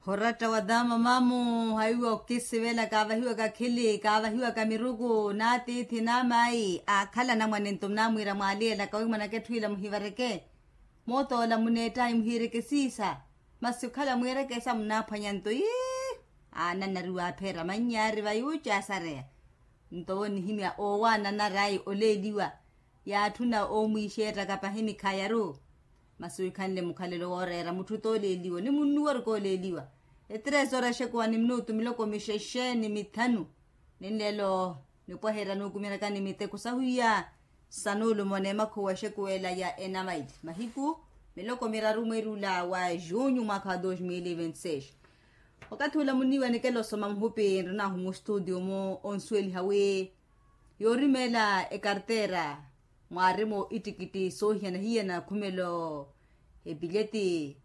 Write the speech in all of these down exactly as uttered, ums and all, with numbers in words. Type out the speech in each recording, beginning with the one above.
Oratta wa daama mamu haiwa okisivela kaavahiwaka khili kaavahiwaka miruku n'atiithi n'amayi aakhala anamwane nto munamwiira mwaaliyelaka wi mwanaketthwila muhivareke. Mootoola muneettayi muhiireke siisa. Masi okhala mwiirekesa munaaphwanya nto ii. Aananariwa apheera mannyaari vayuuci asareya. Nto onihimya oowaananarayi oleeliwa. Yaatthuna oomwiixeettaka pahi mikhayaru. Masi wikhanle mukhalelo wooreera mutthu t'oleeliwa ni munnuwa ori kooleeliwa. Etresoora exekuwa ni minutu miloko mixexe ni mithanu. Ninleelo nipwaherya nuukumirakani miteko sahuya. Sanuulumo n'emakhuwa exekuwela ya enamaili mahiku miloko miraru mweeri ula wa junyu mwaakha wa dos mil e vinte seis. Wakathi ula muniiwa nikela osoma muhupi nrinahu mustutio-mu onsuweliha wi yoorimeela ekarteera mwaarimo ittikitti soohiyana hiyana khumelo epilyeti.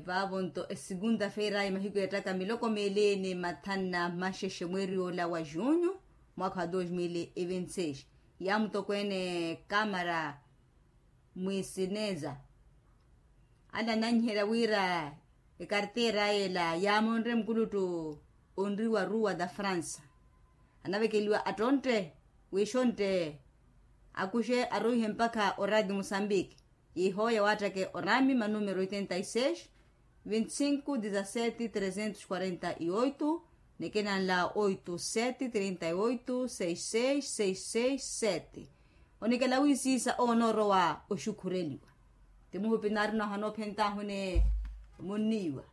Vaavo nto esegunta feira ayi mahiku ettaka miloko meeli ni mathanu na maxexe mweeri ola wa junyu mwaakha wa dos mil e vinte seis. Yaamutokweene kamara mwisineza. Ala ananyiherya wira ekarteera ela yaamonre mukuluttu onriwa ruwa da fransa. Anavekeliwa attontte wixontte akuxe aroihe mpakha oraati musambiki. Yihooya waattake oraami manumero oitenta e seis, vinte e cinco dezasete trezentos quarenta e oito, nekenanla oito sete trinta e oito seis seis seis seis sete. Onikela wisiisa owo onoorowa oxukhureliwa. Ti muhupi naarina ohana ophenttaahu ni munniiwa.